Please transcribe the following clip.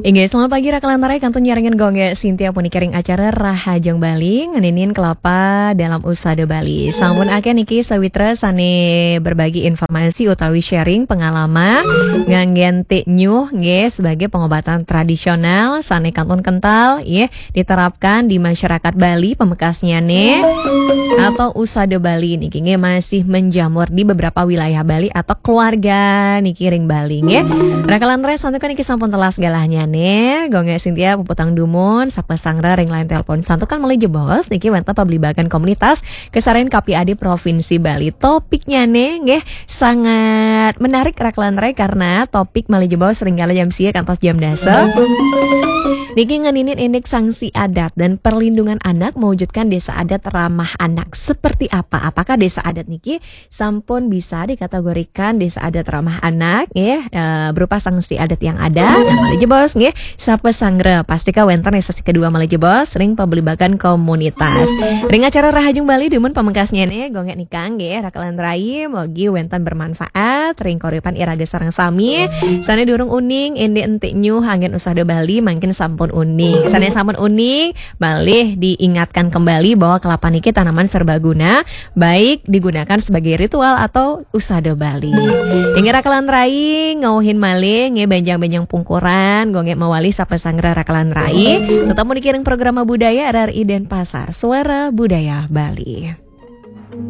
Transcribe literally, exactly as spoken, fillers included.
Inggih, selamat pagi Raka lan Rai, kantun nyarengin Gung Sintia puniki ring acara Rahajeng Bali, ngeninin kelapa dalam usada Bali. Sampun akeh niki sawitra sane berbagi informasi utawi sharing pengalaman nganggen tik nyuh nggih sebagai pengobatan tradisional sane kantun kental nggih diterapkan di masyarakat Bali pamekasnyane atau usada Bali niki nggih masih menjamur di beberapa wilayah Bali atau keluarga niki ring Bali nggih. Raka lan Rai santukan niki sampun telas galahnyane. Gung Sintia puputang dumun, sapa sangra ring line telepon. Santukan malih jebos niki wenten pablibakan komunitas kasarengin K P A D Provinsi Bali. Topiknyane nggih sangat menarik Raka lan Rai karena topik malih jebos ring kala jam sia kantos jam dasa. Niki ngeninin indik sanksi adat dan perlindungan anak mewujudkan desa adat ramah anak. Seperti apa? Apakah desa adat niki sampun bisa dikategorikan desa adat ramah anak nggih, eh, berupa sanksi adat yang ada? Nah, malih jebos nggih, sapa sangra? Pastika wenten ring sesi kedua malih jebos ring pablibakan komunitas. Ring acara Rahajeng Bali dumun pamekasnyane Gung Nika nggih, Raka lan Rai, mogi wenten bermanfaat ring kauripan iraga sareng sami. Sane durung uning, indik entik nyuh anggen usada Bali, mangkin sampun uning. Sane sampun uning, malih diingatkan kembali bahwa kelapa niki tanaman serbaguna, baik digunakan sebagai ritual atau usada Bali. Inggih Raka lan Rai, ngauhin malih nggih benjang-benjang pungkuran, Gung mawali sapa sangra Raka lan Rai. Tetep puniki ring program budaya R R I Denpasar, Suara Budaya Bali.